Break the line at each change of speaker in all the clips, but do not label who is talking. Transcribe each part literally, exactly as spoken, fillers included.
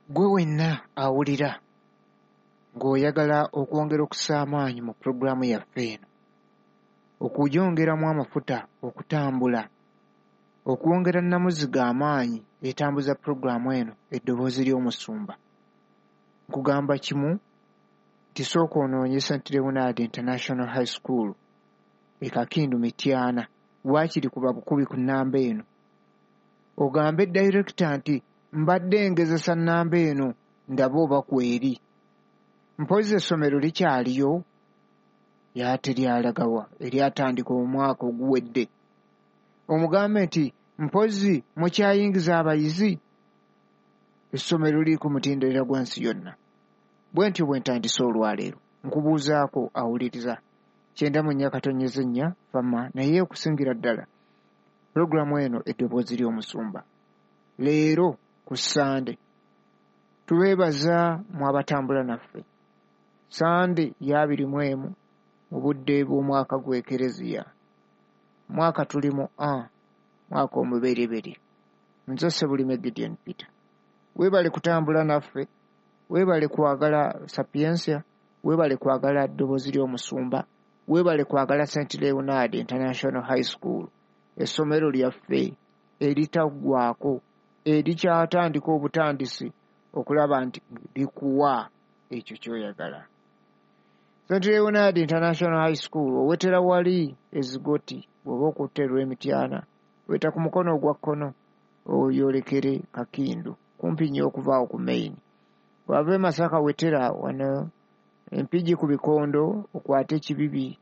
Gwe wenna awulira ng'oyagala okwongera okussa amaanyi mu pulogulaamu yaffe eno, okugyongeramu amafuta okutambula, okwongera nnamuziga amaanyi etambuza pulogulaamu eno Eddoboozi ly'Omusumba, nkugamba kimu nti sooka onoonye Saint Leonard International High School e Kakindu Mityana, waakiri kuba bukubi ku nnamba eno. Ogambe dayirekita nti mbadde ngezesa nnamba eno ndabe oba kweri. Mpozzi essomero likyaliyo? Y'ate lyalagawa eryatandika omwaka oguwedde. Omugambe nti mpozzi mukyayingiza abayizi? Essomero liri ku mutendera gwa nsi yonna. Bwe ntyo bwe ntandise olwaleero. Nkubuuzaako awuliriza kyenda mu nnya katonnyeze nnya fama, naye okusingira ddala pulogulaamu eno Eddoboozi ly'Omusumba. Leero ku Ssande tubeebaza mwe abatambula naffe. Ssande ya abiri mu emu mu budde bw'omwaka gw'Ekereziya. Mwaka tuli mu A, mwaka omubereberye. Nze Ssebulime Gideon Peter. Weebale kutambula naffe, weebale kwagala Sapientia, weebale kwagala Ddoboozi ly'Omusumba, weebale kwagala Saint Leonard International High School, essomero lyaffe eritaggwaako, erikyatandika obutandisi okulaba nti likuwa ekyo ky'oyagala. Saint Leonard International High School owetera wali ezigoti bw'oba okutte olw'Emityana, weta ku mukono ogwa kkono oyolekere Kakindu, kumpi nnyo okuva awo ku main. Bw'ava e Masaka wetera wano Empigi ku bikondo okwate Kibibi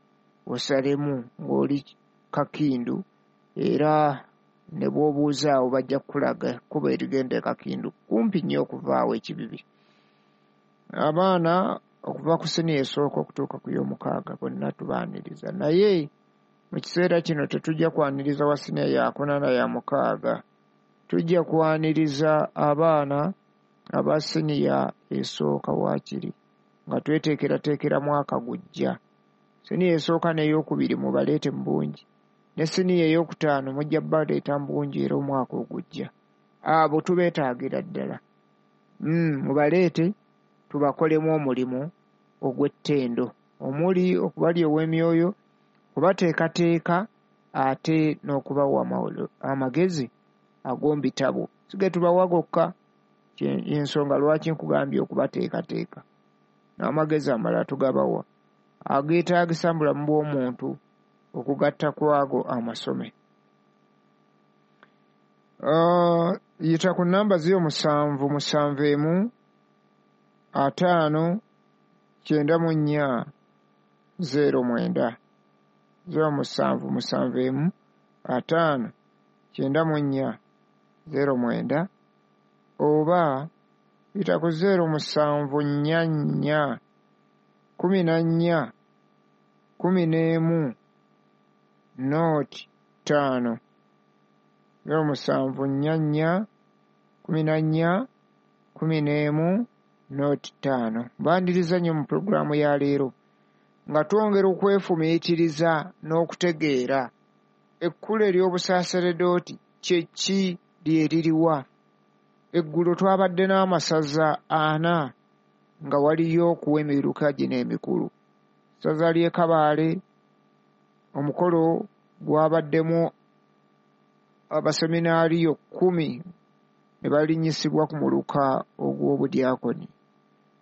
osalemu ng'oli Kakindu, era ne bw'obuuza awo bajja kukulaga ekkubo erigenda e Kakindu, kumpi nnyo okuva awo Ekibibi. Abaana okuva ku siniya esooka okutuuka ku y'omukaaga bonna tubaaniriza, naye mu kiseera kino tetujja kwaniriza wa siniya yakuna na ya mukaaga, tujja kwaniriza abaana aba siniya esooka waakiri nga tweteekerateekera mwaka gujja. Siniya esooka n'eyokubiri mubaleete mu bungi, ne siniya eyokutaano mujja baleeta mu bungi era omwaka ogujja. Abo tubeetaagira ddala. Mm, mubaleete tubakolemu omulimu ogw'ettendo omuli okubalyowa emyoyo, okubateekateeka ate n'okubawa amagezi ag'omu bitabo. Si ge tubawa gokka, y'ensonga lwaki nkugambye okubateekateeka. N'amagezi amalala tugabawa ageetaagisa mu bulamu bw'omuntu okugatta ku ago amasome. Uh, yita ku nnamba ziro musanvu musanvu emu ataano kyenda mu nnya zeero mwenda, ziro musanvu musanvu emu ataano kyenda mu nnya zeero mwenda, oba yita ku zeero musanvu nnya nnya kumi na nnya kumi n'emu nooti ttaano, zeero musanvu nnya nnya kumi na nnya kumi n'emu nooti ttaano. Mbaniriza nnyo mu pulogulaamu ya leero nga twongera okwefumiitiriza n'okutegeera ekkula ery'obusaaseredooti kye ki, lye liriwa. Eggulo twabadde n'amasaza ana nga waliyo okuwa emiruka gino emikulu. Ssaza ly'e Kabaale omukolo gwabaddemu abaseminaariyo kkumi ne balinnyisibwa ku muluka ogw'obudyakoni,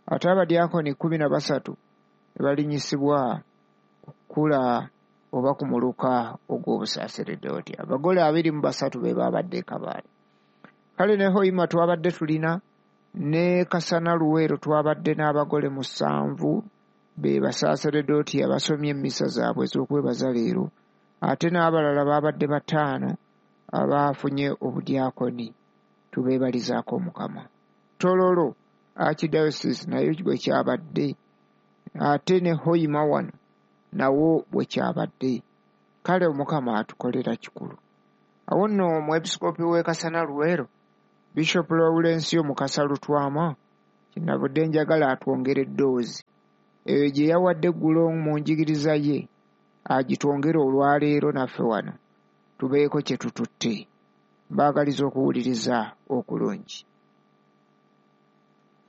ate abadyakoni kkumi na basatu ne balinnyisibwa ku kkula oba ku muluka ogw'obusaaseredooti. Abagole abiri mu basatu be baabadde e Kabaale. Kale ne Hoima twabadde tulina, ne Kasana Luweero twabadde n'abagole musanvu be basaaseredooti abasomye emmisa zaabwe ez'okwebaza leero, ate n'abalala baabadde bataano abaafunye obudyakoni. Tubeebalizaako Omukama. Tororo Archdiocese nayo bwe kyabadde, ate ne Hoima wano nawo bwe kyabadde. Kale Omukama atukolera kikulu. Awo nno omwepisikoopi w'e Kasana Luweero, Bishop Lawrence Mukasa Lutwama, kyenavudde njagala atwongere eddoozi eyo gye yawadde eggulo mu njigiriza ye, agitwongere olwaleero naffe wano tubeeko kye tututte. Mbaagaliza okuwuliriza okulungi.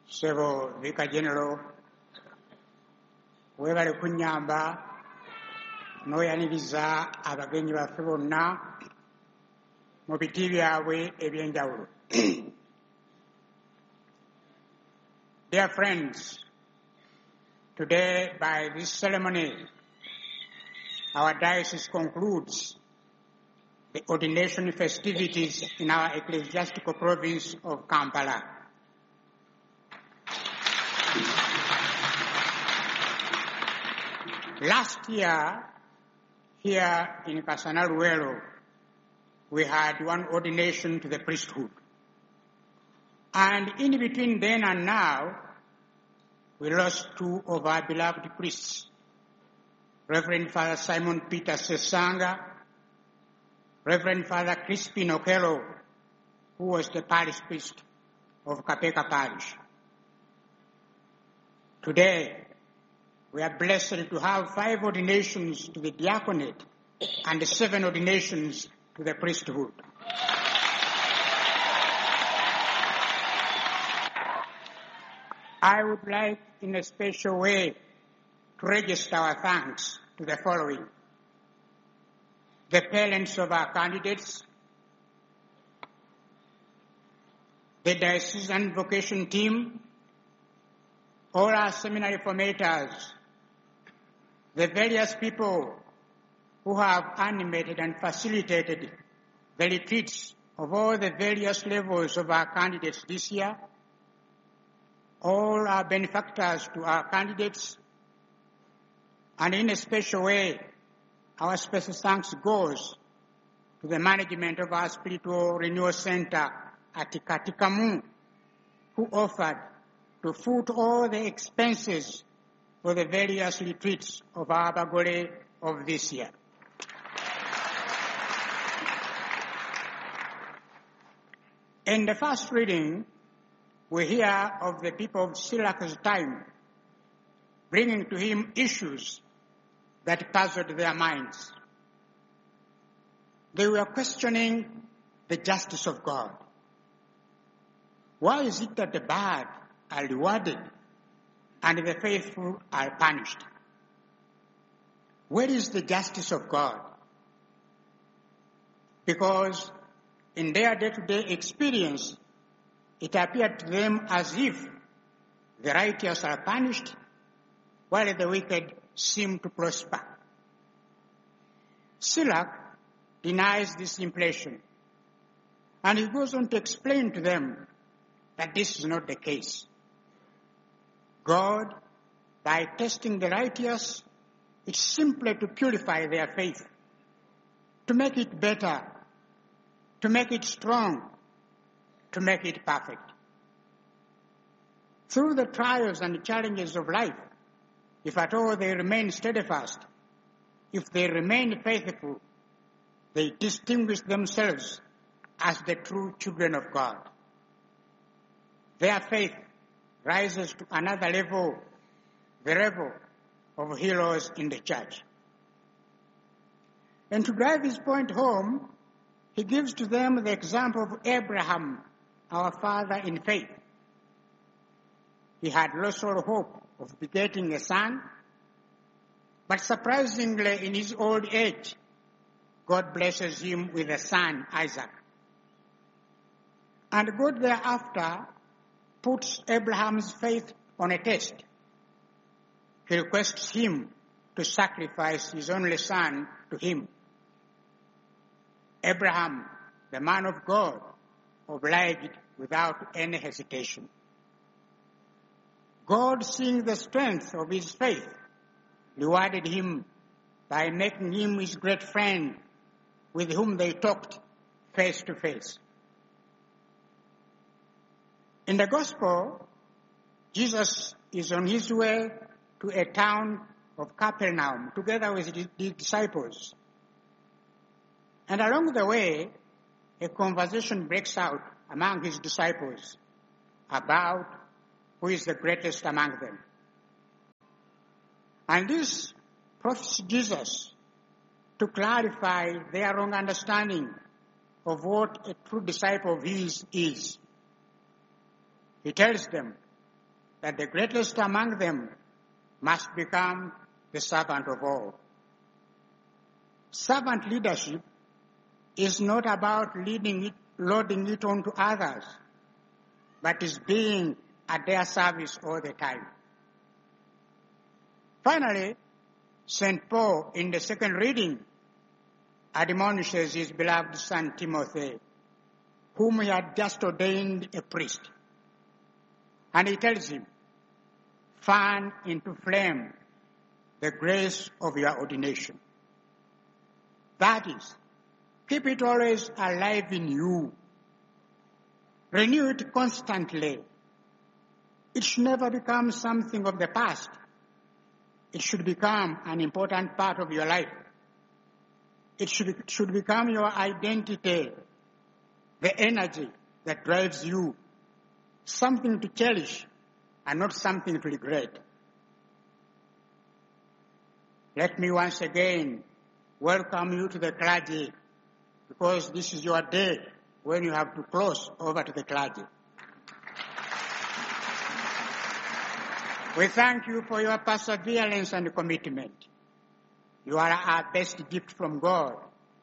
Ssebo Vicar General, weebale kunnyamba n'oyaniriza abagenyi baffe bonna mu biti byabwe eby'enjawulo. Dear friends, today by this ceremony, our diocese concludes the ordination festivities in our ecclesiastical province of Kampala. Last year, here in Kasana Luweero, we had one ordination to the priesthood. And in between then and now, we lost two of our beloved priests, Reverend Father Simon Peter Sesanga, Reverend Father Crispin Okello, who was the parish priest of Kapeeka Parish. Today, we are blessed to have five ordinations to the diaconate and seven ordinations to the priesthood. I would like, in a special way, to register our thanks to the following: the parents of our candidates, the diocesan vocation team, all our seminary formators, the various people who have animated and facilitated the retreats of all the various levels of our candidates this year, all our benefactors to our candidates, and in a special way, our special thanks goes to the management of our Spiritual Renewal Center at Katikamu, who offered to foot all the expenses for the various retreats of our Abagole of this year. In the first reading, we hear of the people of Sirach's time bringing to him issues that puzzled their minds. They were questioning the justice of God. Why is it that the bad are rewarded and the faithful are punished? Where is the justice of God? Because in their day-to-day experience, it appeared to them as if the righteous are punished while the wicked seem to prosper. Sirach denies this impression, and he goes on to explain to them that this is not the case. God, by testing the righteous, is simply to purify their faith, to make it better, to make it strong, to make it perfect. Through the trials and challenges of life, if at all they remain steadfast, if they remain faithful, they distinguish themselves as the true children of God. Their faith rises to another level, the level of heroes in the church. And to drive his point home, he gives to them the example of Abraham, our father in faith. He had lost all hope of begetting a son, but surprisingly, in his old age, God blesses him with a son, Isaac. And God thereafter puts Abraham's faith on a test. He requests him to sacrifice his only son to him. Abraham, the man of God, obliged without any hesitation. God, seeing the strength of his faith, rewarded him by making him his great friend, with whom they talked face to face. In the Gospel, Jesus is on his way to a town of Capernaum together with his disciples. And along the way, a conversation breaks out among his disciples about who is the greatest among them. And this prompts Jesus to clarify their wrong understanding of what a true disciple of his is. He tells them that the greatest among them must become the servant of all. Servant leadership is not about leading it, loading it onto others, but is being at their service all the time. Finally, Saint Paul, in the second reading, admonishes his beloved son Timothy, whom he had just ordained a priest. And he tells him, fan into flame the grace of your ordination. That is, keep it always alive in you. Renew it constantly. It should never become something of the past. It should become an important part of your life. It should, should become your identity, the energy that drives you, something to cherish and not something to regret. Let me once again welcome you to the clergy, because this is your day when you have to cross over to the clergy. We thank you for your perseverance and commitment. You are our best gift from God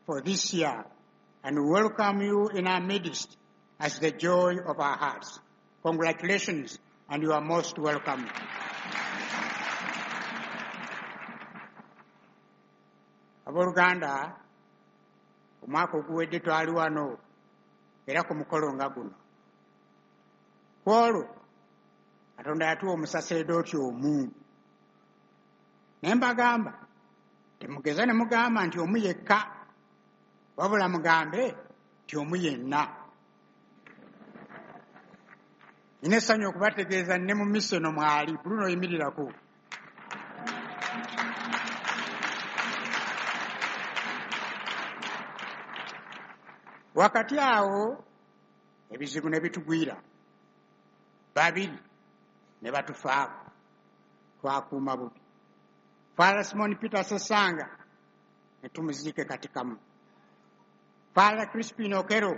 for this year, and we welcome you in our midst as the joy of our hearts. Congratulations, and you are most welcome. Abooluganda, omwaka oguwedde twali wano era ku mukolo nga guno. Ku olwo Katonda yatuwa omusaseredooti omu. Naye mbagamba, temugeza ne mugamba nti omu yekka, wabula mugambe nti omu yenna. Nina essanyu okubategeeza ne mu misa eno mwali, Bruno yimirirako. Wakati awo ebizibu ne bitugwira, babiri ne batufaako, twakuuma bubi. Father Simon Peter Sessanga ne tumuziika Katikamu. Father Crispin Okero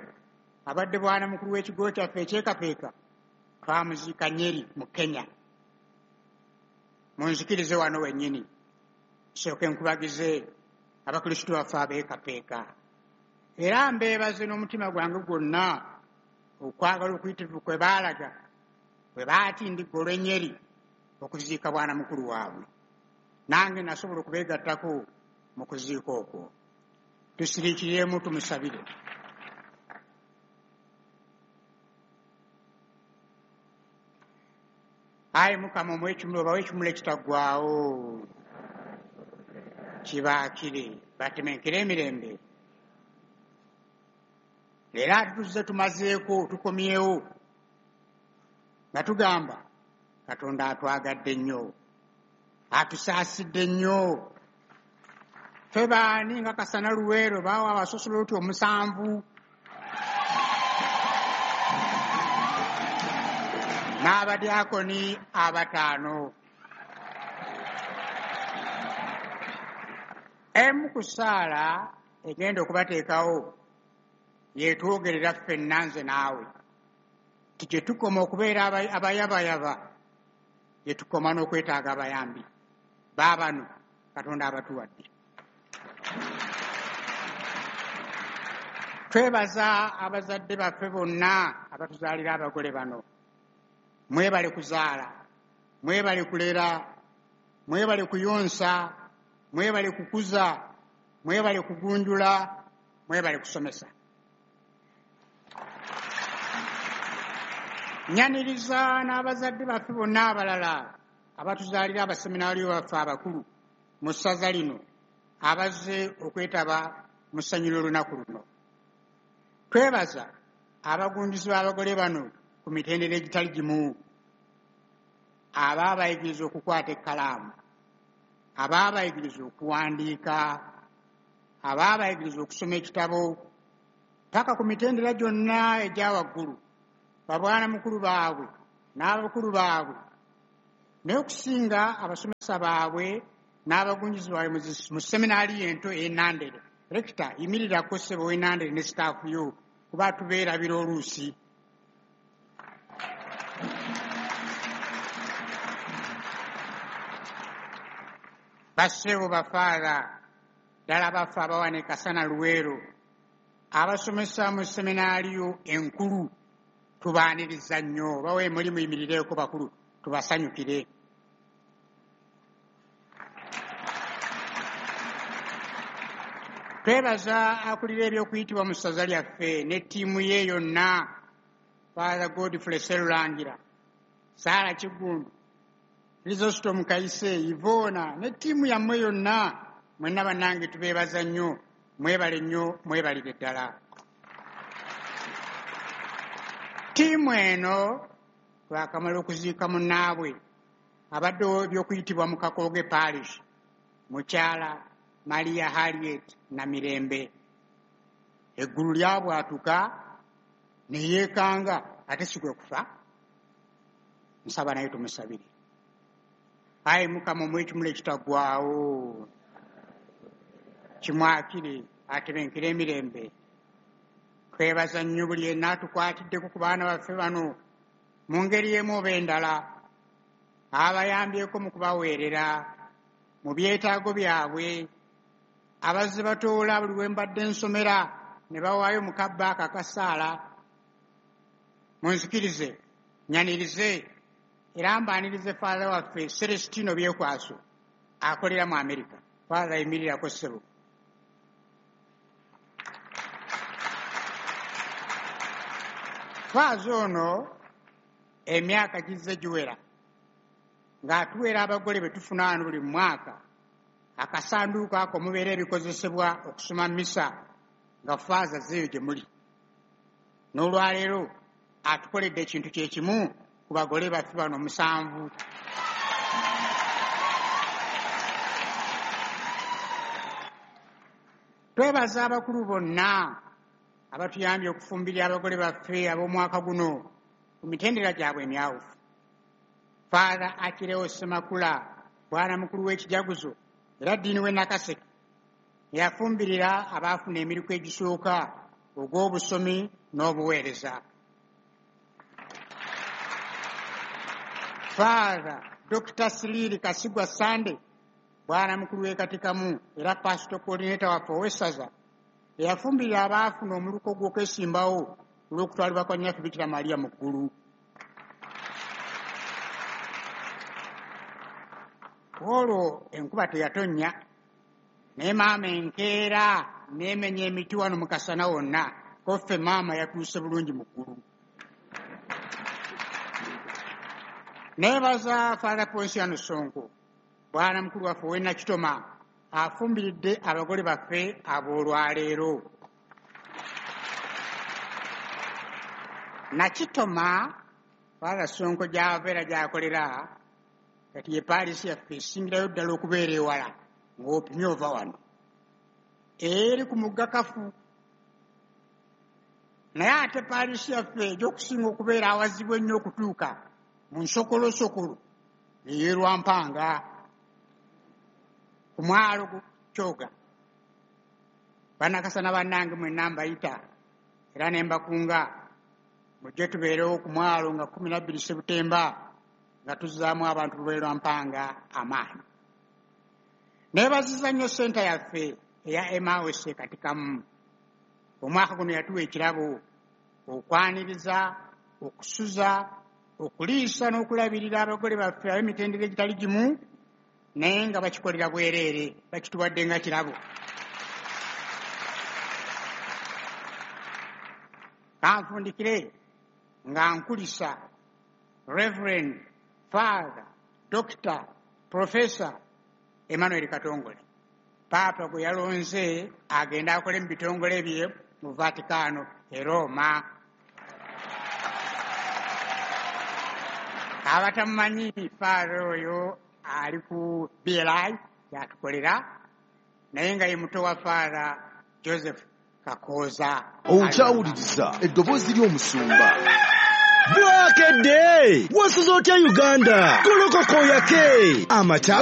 abadde bwana mukulu w'ekigo kyaffe eky'e twamuziika Nyeri mu Kenya. Munzikirize wano wennyini nsooke nkubagize abakristu baffe ab'e Kapeeka. Era mbeebaze n'omutima gwange gwonna okwagala okuyitirivu kwe baalaga bwe baatindigga olw'e okuziika bwana mukulu waabwe. Nange nasobola okubeegattako mu kuziika okwo. Tusiriikiremu tumusabire. Ayi Mukama omuwe ekimuli, obawe ekimuli ekitaggwaawo, kibaakire batemenkere emirembe. Leero ate tuzze tumazeeko, tukomyewo nga tugamba Katonda atwagadde nnyo, atusaasidde nnyo. Ffe baani nga Kasana Luweero baawa abasosoloti omusanvu n'abadyakoni abataano. Emu ku ssaala egenda okubateekawo yeetwogerera ffenna nze naawe nti gye tukoma okubeera abayabayaba, gye tukoma n'okwetaaga abayambi. Baabano Katonda abatuwadde. Twebaza abazadde baffe bonna abatuzaalira abagole bano. Mwebale kuzaala, mwebale kulera, mwebale kuyonsa, mwebale kukuza, mwebale kugunjula, mwebale kusomesa. Nyaniriza n'abazadde baffe bonna abalala abatuzaalira abaseminaaliyo baffe abakulu mu ssaza lino abazze okwetaba mu ssanyu ly'olunaku luno. Twebaza abagunjuzi b'abagole bano ku mitendera egitali gimu, abaabayigiriza okukwata ekkalaamu, abaabayigiriza okuwandiika, abaabayigiriza okusoma ekitabo, paka ku mitendera gyonna egya waggulu, babwana mukulu baabwe n'abakulu baabwe, naye okusinga abasomesa baabwe n'abagunjuzi baabwe mu seminaaliyo ento ey'e Nandere. Rekita, yimirirako ssebo w'e Nandere ne sitaafu yo, kuba tubeerabira oluusi. Bassebo bafaatha ddala baffe abawana e Kasana Luweero, abasomesa mu seminaaliyo enkulu, tubaaniriza nnyo. Bawe muli muyimirireeko bakulu, tubasanyukire. Twebaza akulira ebyokuyitibwa mu ssaza lyaffe ne ttiimu ye yonna, Father Godfrey Serulangira, Saara Kiggundu, Chrysostom Kayise, Ivona ne ttiimu yammwe yonna. Mwenna bannange tubeebaza nnyo, mwebale nnyo, mwebalire ddala. Ttiimu eno twakamala okuziika munnaabwe abaddewo ebyokuyitibwa mu Kakooge Parish, mukyala Maria Harriet Namirembe. Eggulu lyabwatuka ne yeekanga, ate si kwe kufa. Nsaba naye tumusabire. Ayi Mukama, omuwe ekimuli ekitaggwaawo, kimwakire atebenkere emirembe. Twebaza nnyo buli yenna atukwatiddeko ku baana baffe bano mu ngeri emu oba endala, abayambyeko mu kubaweerera mu byetaago byabwe, abazze batoola buli we mbadde nsomera ne bawaayo mu kabba ako akasaala. Munzikirize nyanirize era mbaanirize Father waffe Celestino Byekwaso akolera mu Amerika. Father, yimirirako ssebo. Faaza ono emyaka gizze giwera ng'atuweera abagole be tufuna wano buli mwaka akasanduuko ako mubeera ebikozesebwa okusoma misa, nga faaza zeeyo gye muli. N'olwaleero atukoledde ekintu kye kimu ku bagole baffe bano musanvu. Twebaza abakulu bonna abatuyambye okufumbirira abagole baffe ab'omwaka guno ku mitendera gyabwe emyawufu. Father Achileo Ssemakula, bwana mukulu w'ekijaguzo era ddiini w'e Nakaseke, yafumbirira abaafuna emiriku egisooka ogw'obusomi n'obuweereza. Father Doctor Siriri Kasigwa Sande, bwana mukulu w'e Katikamu era pastor coordinator waffe ow'essaza, eyafumbirira abaafuna omuluko gw'okwesimbawo olw'okutwalibwa kwa Nnyaffe Bikira Maria mu ggulu. Olwo enkuba teyatonnya, naye maama enkeera n'emenya emiti wano mu kasana wonna, ko ffe maama yatuuse bulungi mu ggulu. Neebaza Father Ponsiano Sonko, bwana mukulu waffe ow'e Nakitoma, afumbiridde abagole baffe ab'olwaleero. Nakitoma, Father Sonko gy'ava era gy'akolera, kati ye paalisi yaffe esingirayo ddala okubeera ewala ng'opimye ova wano, eri ku mugga Kafu. Naye ate paalisi yaffe egy'okusinga okubeera awazibu ennyo okutuuka mu nsokolosokolo ey'e Lwampanga ku mwalo Kyoga. Bannakasana bannange mwenna mbayita era ne mbakunga mujje tubeerewo ku mwalo nga kkumi na bbiri Sebutemba nga tuzzaamu abantu lw'e Lwampanga amaanyi. Neebaziza nnyo ssenta yaffe eya Emmaus e Katikamu. Omwaka guno yatuwa ekirabo okwaniriza, okusuza, okuliisa n'okulabirira abagole baffe ab'emitendera egitali gimu, naye nga bakikolera bwereere, bakituwadde nga kirabo. Kanfundikire nga nkulisa Reverend Father Doctor Professor Emmanuel Katongole, Paapa gwe yalonze agende akole mu bitongole bye mu Vatikano e Roma. Abatamumanyi, Father oyo ali ku B L I yatukolera, naye nga ye muto wa Father Joseph Kakooza.
Okyawuliriza eddoboozi ly'omusumba.
Bwakedde wasuze otya Uganda? Golokoka oyake amakya.